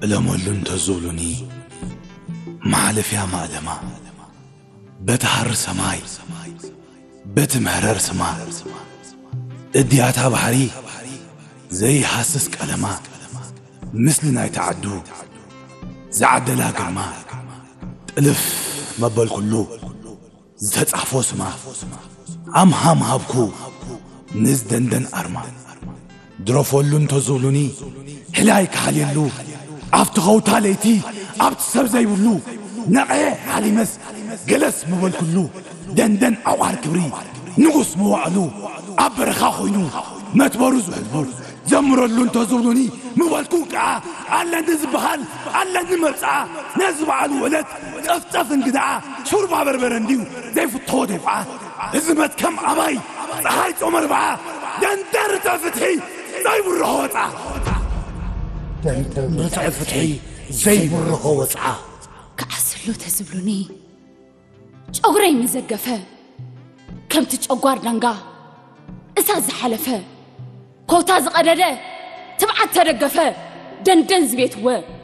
እለመሉ እንተዝብሉኒ፣ መሓለፍያ ማእለማ፣ በቲ ሃሪ ሰማይ፣ በቲ መህረር ስማ፣ እድያታ ባሕሪ ዘይሃስስ ቀለማ፣ ምስሊ ናይታ ዓዱ ዝዓደላ ግርማ፣ ጥልፍ መበልኩሉ፣ ዝተጻሕፎ ስማ፣ ኣምሃም ሃብኩ ንዝደንደን ኣርማ። ድረፈሉ እንተዝብሉኒ፣ ህላይ ክሓልየሉ፣ ኣብቲ ኸውታ ለይቲ፣ ኣብቲ ሰብ ዘይብሉ፣ ነቐየ ሓሊመስ፣ ገለስ ምበልኩሉ፣ ደንደን ዓቋር ክብሪ፣ ንጉስ መዋዕሉ፣ ኣብ በረኻ ኮይኑ፣ መትበሩ ዝሕልቡ፣ ዘምረሉ እንተዝብሉኒ፣ ምበልኩ ከዓ፣ ኣለኒ ዝበሃል፣ ኣለኒ መብፅዓ፣ ነዚ በዓሉ ዕለት፣ ጸፍጸፍ እንግድዓ፣ ሹርባ በርበረ እንድዩ፣ ዘይፍትዎ ደፍዓ፣ እዚ መትከም ኣባይ፣ ፀሓይ ጾመ ኣርብዓ፣ ደንደን ርትዒ ፍትሒ ዘይብርሆ ወፃ። ደንደን ርትዒ ፍትሒ ዘይብርሆ ወፃ። ክዓስሉ ተዝብሉኒ፣ ጨጉረይ ምዘገፈ፣ ከምቲ ጨጓር ዳንጋ እሳት ዝሓለፈ፣ ኮታ ዝቐደደ ትብዓት ተደገፈ፣ ደንደን ዝቤትወ፣